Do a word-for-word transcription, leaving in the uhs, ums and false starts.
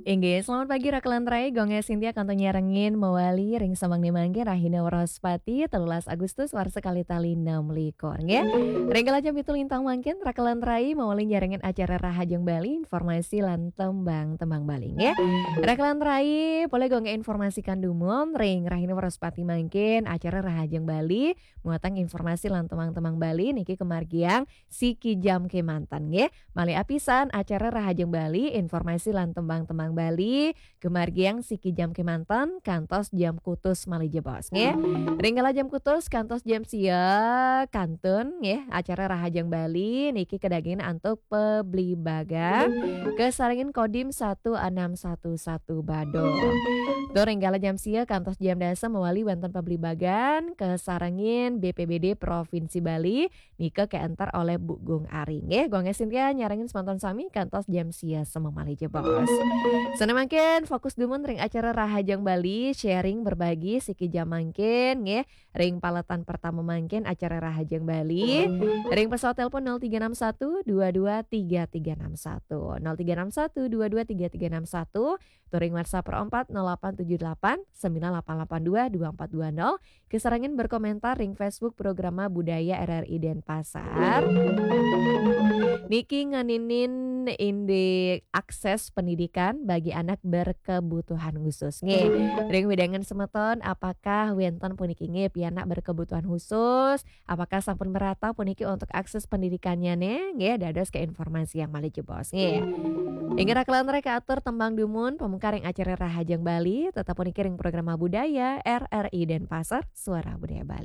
Inggih, selamat pagi Rakelan Rai, Gung Sintia kantun nyarengin mawali ring samangdané mangkin rahina Wraspati, telulas Agustus, warsa kalih tali enam likur, nggih. Ring kala jam pitu lintang mangkin, Rakelan Rai mawali nyarengin acara Rahajeng Bali, informasi lan tembang-tembang Bali, nggih. Rakelan Rai, polih Gung informasikan dumun, ring rahina Wraspati mangkin, acara Rahajeng Bali, muatan informasi lan tembang-tembang Bali, niki kamargiang siki jam kémanten, nggih. Malih apisan acara Rahajeng Bali, informasi lan tembang-tembang Bali, kamargiang siki jam kémanten, kantos jam kutus malih jebos, nggih. Ring kala jam kutus, kantos jam sia, kantun, nggih, acara Rahajeng Bali, niki kadagingin antuk pablibagan, kasarengin Kodim satu enam satu satu Badung. Tur ring kala jam sia, kantos jam dasa mawali wénten pablibagan, kasarengin B P B D Provinsi Bali, nika kaénter olih Bu Gung Ari. Nggih, Gung Sintia nyarengin semeton sami kantos jam sia semeng malih jebos. Sané mangkin fokus dumun ring acara Rahajeng Bali, sharing berbagi siki jam mangkin, nggih. Ring paletan pertama mangkin acara Rahajeng Bali. Ring pesawat telepon nol tiga enam satu dua dua tiga tiga enam satu, nol tiga enam satu dua dua tiga tiga enam satu, tur ring WhatsApp empat nol delapan tujuh delapan sembilan delapan delapan dua dua empat dua nol, kasarengin berkomentar ring Facebook Programa Budaya R R I Denpasar. Niki ngeninin indik akses pendidikan bagi anak berkebutuhan khusus. Nggih, ring wewidangan semeton, apakah wénten puniki nggih pianak berkebutuhan khusus? Apakah sampun merata puniki untuk akses pendidikannya nih? Nggih, dados ke informasi yang malih jebos. Nggih. Inggih Rakelan Rai, kaatur tembang dumun pamungkar ring acara Rahajeng Bali, tetep puniki ring Programa Budaya R R I Denpasar, Suara Budaya Bali.